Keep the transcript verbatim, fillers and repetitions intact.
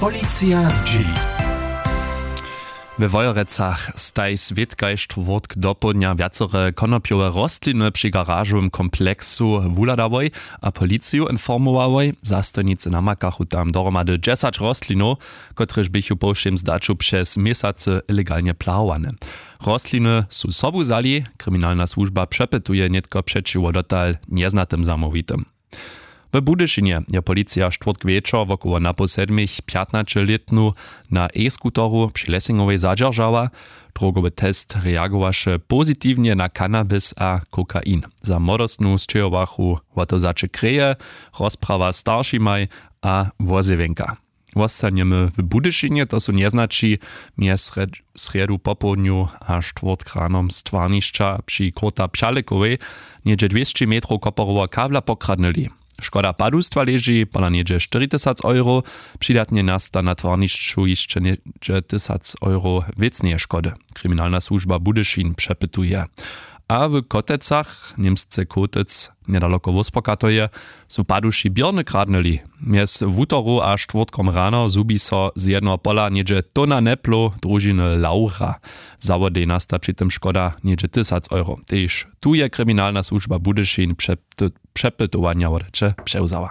Policija zdźěli. We Wojerecach staj swět kaž štwórtk dopołdnja wjacore konopjowe rostliny při garažowym kompleksu wuhladałoj a policiju informowałoj. Zastojnicy namakachu tam dohromady dźesać rostlinow, kotrež běchu po wšěm zdaću přez měsacy ilegalnje plahowane. Rostliny su sobu wzali. Kriminalna słužba přepytuje nětko přećiwo dotal njeznatym zamołwitym. W Budyšinje je policija štwórtk wječor wokoło napoł sedmich pjatnaćelětnu na e-skuteru při Lessingowej zadźeržała. Drogowy test reagowaše pozitiwnje na cannabis a kokain. Za młodostnu sćěhowachu wo to zaće kreje, rozprawa staršimaj a wozjewjenka. Wostanjemy w Budyšinje, to su njeznaći mjez srjedu popołdnju a štwórtk ranom z twarnišća při króta pchalekowej něhdźe dwěsći metrow koporoweho kabla pokradnyli. Škoda padustwa leži pola něhdźe štyri tysac euro. Přidatnje nasta na twarnišću hišće něhdźe tysac euro wěcneje škody. Kriminalna słužba Budyšin přepytuje. A w Kotecach němsce kotec njedaloko wóspokatoje su paduši běrny kradnyli. Mjez wutoru a štwórtkom rano zhubi so z jednoho pola něhdźe tona neplow družiny laura. Zawodej nasta při tym škoda něhdźe tysac euro. Tež tu je kriminalna słužba Budyšin přepytowanja wodaće přewzała.